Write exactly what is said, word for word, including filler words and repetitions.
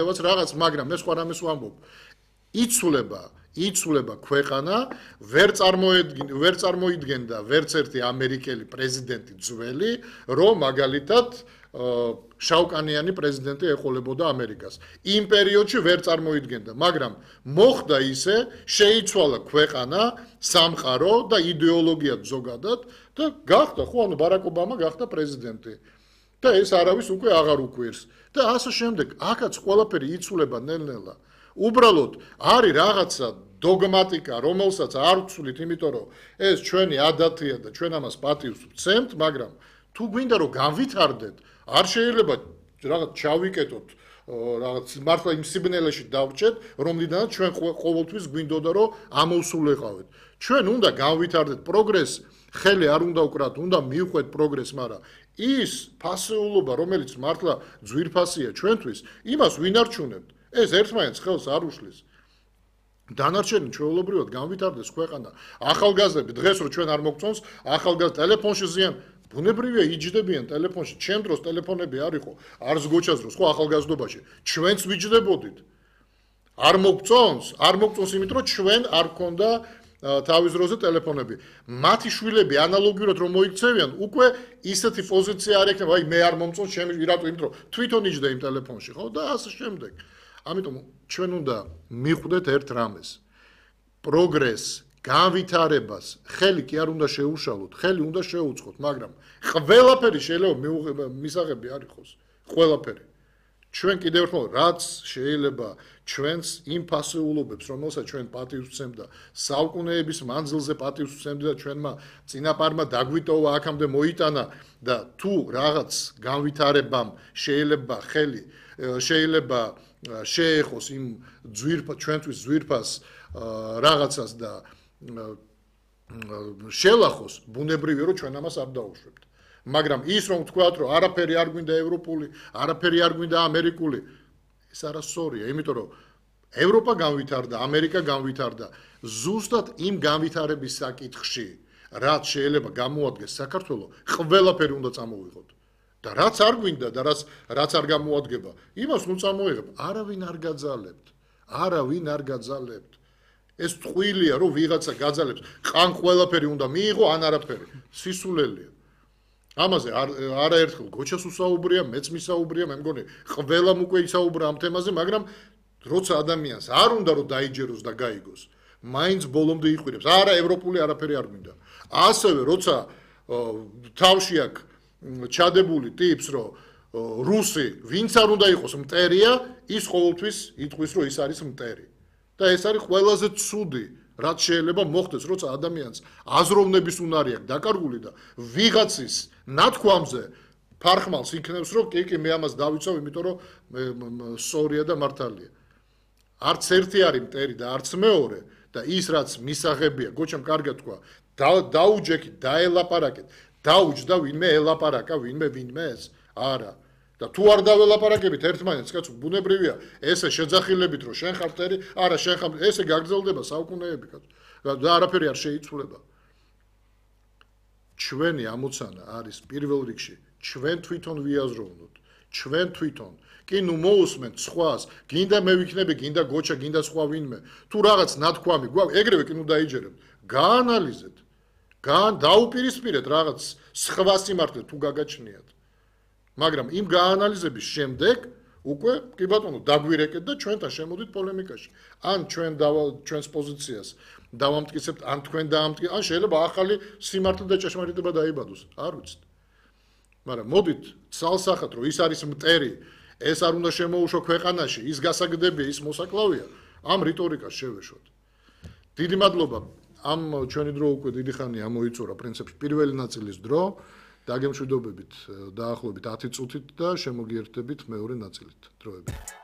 რაღაც, მაგრამ მე სხვა რამეს ვამბობ. იცვლება, იცვლება ქვეყანა, ვერ წარმოედგენ, ვერ წარმოიდგენდა ვერც ერთი ამერიკელი პრეზიდენტი ძველი, რომ მაგალითად შავკანიანი პრეზიდენტი ეყოლებოდა ამერიკას. იმ პერიოდში ვერ წარმოიდგენდა, მაგრამ მოხდა ისე, შეიცვალა ქვეყანა, სამყარო და იდეოლოგიად ზოგადად და გახდა, ხო, ანუ ბარაკ ობამა გახდა პრეზიდენტი. და ეს არავის უკვე აღარ უკვირს. და ასე შემდეგ, აქაც ყველაფერი იცვლება ნელ-ნელა. უბრალოდ არის რაღაცა დოგმატიკა, რომელსაც არ ვცვლით, იმიტომ რომ ეს ჩვენი ადათია და ჩვენ ამას პატივს ვცემთ, მაგრამ თუ გვინდა რომ განვითარდეთ, არ შეიძლება რაღაც ჩავიკეტოთ, რაღაც მართლა იმ სიბნელეში დავრჩეთ, რომლიდანაც ჩვენ ყოველთვის გვინდოდა რომ ამოვსულიყავით. ჩვენ უნდა განვითარდეთ პროგრესს, ხელი არ უნდა უკრათ, უნდა მივხვდეთ პროგრესს, მაგრამ ის ფასეულობა, რომელიც მართლა ძვირფასია ჩვენთვის, იმას ვინ არჩუნებთ? ეს ერთმანეთს ხელს არ უშლის. დანარჩენი ჩვეულებრივად განვითარდეს ქვეყანა. ახალგაზრდები დღეს რო ჩვენ არ მოგწონს, ახალგაზრდა ტელეფონში ზიან, ბუნებრივია იჯდებიან ტელეფონში. ჩემ დროს ტელეფონები არ იყო, არც გოჩას დროს, ხო ახალგაზრდობაში. ჩვენც ვიჯდებოდით. არ მოგწონს, არ მოგწონს იმიტომ რომ ჩვენ არ გქონდა თავის დროზე ტელეფონები. მათი შვილები ანალოგიურად რომ მოიქცევიან, უკვე ისეთი პოზიცია არ ექნება, აი მე არ მომწონს, ჩემი რატო, იმიტომ რომ თვითონ იჯდა იმ ტელეფონში, ხო და ასე შემდეგ. ამიტომ ჩვენ უნდა მივხვდეთ ერთ რამეს. პროგრესს, განვითარებას, ხელი კი არ უნდა შეუშალოთ, ხელი უნდა შეუწყოთ, მაგრამ ყველაფერი შეიძლება მისაღები არ იყოს, ყველაფერი. ჩვენ კიდევ ერთხელ რაც შეიძლება ჩვენს იმ ფასეულობებს, რომელსაც ჩვენ პატივს ვცემდა, საუკუნეების მანძილზე პატივს ვცემდა და ჩვენმა წინაპარმა დაგვიტოვა აქამდე მოიტანა და თუ რაღაც განვითარებამ შეიძლება ხელი შეიძლება შეეხოს იმ ძვირფას ჩვენთვის ძვირფას რაღაცას და შელახოს, ბუნებრივია რომ ჩვენ ამას არ დაუშვებთ. მაგრამ ის რომ ვთქვათ, რომ არაფერი არ გვინდა ევროპული, არაფერი არ გვინდა ამერიკული, ეს არასწორია, იმიტომ რომ ევროპა განვითარდა, ამერიკა განვითარდა, ზუსტად იმ განვითარების საკითხში, რაც შეიძლება გამოადგეს საქართველოს, ყველაფერი უნდა წამოვიღოთ. და რაც არ გვინდა და რაც რაც არ გამოადგება, იმას ნუ წამოიღებ, არავინ არ გაძალებთ, არავინ არ გაძალებთ. ეს ტყუილია, რომ ვიღაცა გაძალებს, ყან ყველაფერი უნდა მიიღო, ან არაფერი. სისულელია. ამაზე არაერთხელ გოჩას უსაუბრია, მეც მისაუბრია, მე მგონი, ყველამ უკვე ისაუბრა ამ თემაზე, მაგრამ როცა ადამიანს არ უნდა რომ დაიჯეროს და გაიგოს, მაინც ბოლომდე იყვირებს. არა, ევროპული არაფერი არ გვინდა. ასევე როცა თავში აქვს ჩადებული ტიპს, რომ რუსი, ვინც არ უნდა იყოს მტერია, ის ყოველთვის იტყვის, რომ ის არის მტერი. და ეს არის ყველაზე ცუდი, რაც შეიძლება მოხდეს, როცა ადამიანს აზროვნების უნარი აქვს დაკარგული და ვიღაცის ნათქვამზე ფარხმალს იქნევს, რომ კი, კი, მე ამას დავიცავ, იმიტომ რომ სწორია და მართალია. არც ერთი არის მტერი და არც მეორე და ის რაც მისაღებია, გოჩამ კარგად თქვა, დაუჯექით, დაელაპარაკეთ, დაუჯდა ვინმე ელაპარაკა, ვინმე ვინმეს? არა. და თუ არ დაველაპარაკებით ერთმანეთს, კაცო, ბუნებრივია, ესე შეძახილებით, რომ შენ ხარ მტერი, არა, შენ ხარ, ესე გაგრძელდება საუკუნეები, კაცო. და არაფერი არ შეიცვლება. ჩვენი ამოცანა არის პირველ რიგში, ჩვენ თვითონ ვიაზროვნოთ, ჩვენ თვითონ. კი, ნუ მოусმენთ სხვას, გინდა მე ვიქნები, გინდა გოჩა, გინდა სხვა ვინმე. თუ რაღაც ნათქვამი გვაქვს, ეგრევე კი ნუ დაიჯერებთ. გაანალიზეთ. გან დაუპირისპირეთ რაღაც სხვა სიმართლე თუ გაგაჩნიათ. მაგრამ იმ გაანალიზების შემდეგ უკვე კი ბატონო დაგვირეკეთ და ჩვენთან შემოდით პოლემიკაში. ან ჩვენ ჩვენს პოზიციას დავამტკიცებთ, ან თქვენ დაამტკიცებთ, ან შეიძლება ახალი სიმართლე და ჭეშმარიტება დაიბადოს. არ ვიცით. მაგრამ მოდით ცალსახად რომ ის არის მტერი, ეს არ უნდა შემოუშვო ქვეყანაში, ის გასაგდებია, ის მოსაკლავია, ამ რიტორიკას შევეშვოთ. დიდი მადლობა. ამ ჩვენი დრო უკვე დიდი ხანია მოიწურა პრინციპში პირველი ნაწილის დრო. დაგემშვიდობებით დაახლოებით ათი წუთით და შემოგიერთდებით მეორე ნაწილით დროებით.